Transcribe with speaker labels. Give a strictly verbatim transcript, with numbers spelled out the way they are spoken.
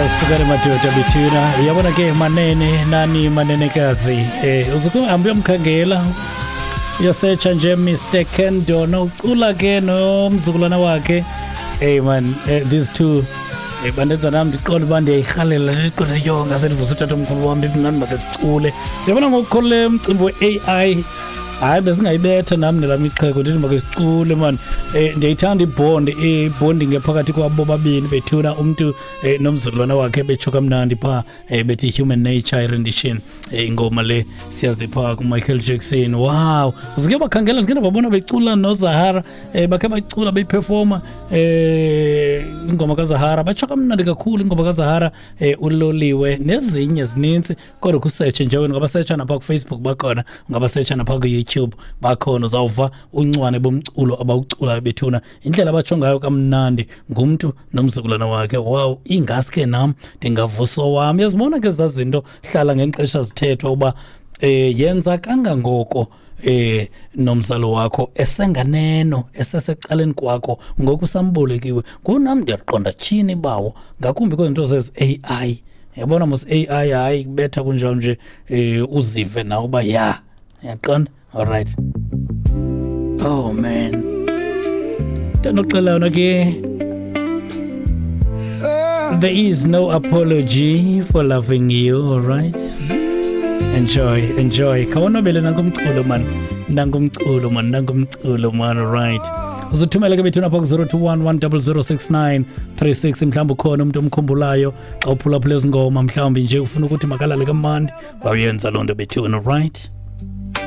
Speaker 1: Sukani madoda bethuna, uyabona ke manene nani manenekazi, eh uzuhambe uyomkhangela, uyosearcha nje Mister Ken Dona, ucula ke nomzukulwana wakhe. Hey man, eh, these two eh, bandenza nami ndiqonde uba ndiyayirhalela, ndiqonde yho ngase ndivusa utatomkhulu wam ndithi nani make sicule. Uyabona ngokukhole umcimbi we-A I, hayi besingayibetha nami nelam ixhego ndithi make sicule man. Eh, ndiyayithanda ibond, ibonding ephakathi kwabo bobabini bethuna, umntu eh, nomzukulwana wakhe betsho kamnandi phaa, eh, bethi Human Nature rendition, eh, ingoma le siyazi phaa kuMichael Jackson. Wow, uzike bakhangela ndike ndababona becula noZahara, eh, bakhe bacula beyiperforma eh, ingoma kaZahara, batsho kamnandi kakhulu ingoma kaZahara, eh, uloliwe nezinye zininzi, kodwa kusetshe nje wena, ungabasetsha napha kuFacebook bakhona, ungabasetsha napha ku-YouTube bakhona, uzawuva uncwane bomculo abawuculayo bethuna, indlela abatsho ngayo kamnandi ngumntu nomzukulwana wakhe. Wow, ingaske nam ndingavusa wam. Uyazibona ke ezaa zinto hlala ngexesha zithethwa uba eh, yenza kangangoko eh nomzalo wakho esenganeno esesecaleni kwakho ngoku sambolekiwe. Ngunam ndiyaqonda tyhini bawo, ngakumbi kwezinto zezi A I. Yabona mos A I hayi kubetha kunjalo nje, eh uzive nawe uba ya yaqonda. All right. Oh man. Ndinoxela ke, there is no apology for loving you, all right? Enjoy, enjoy. Khawonwabele nangumculo man, nangumculo man, nangumculo man, all right. Uzothumela ke bethuna apha ku zero two one one zero zero six nine three six, mhlawumbi ukhona umuntu omkhumbulayo xa uphulaphula ezi ngoma, mhlawumbi nje ufuna ukuthi makalale kamnandi, wawuyenza loo nto bethuna, all right?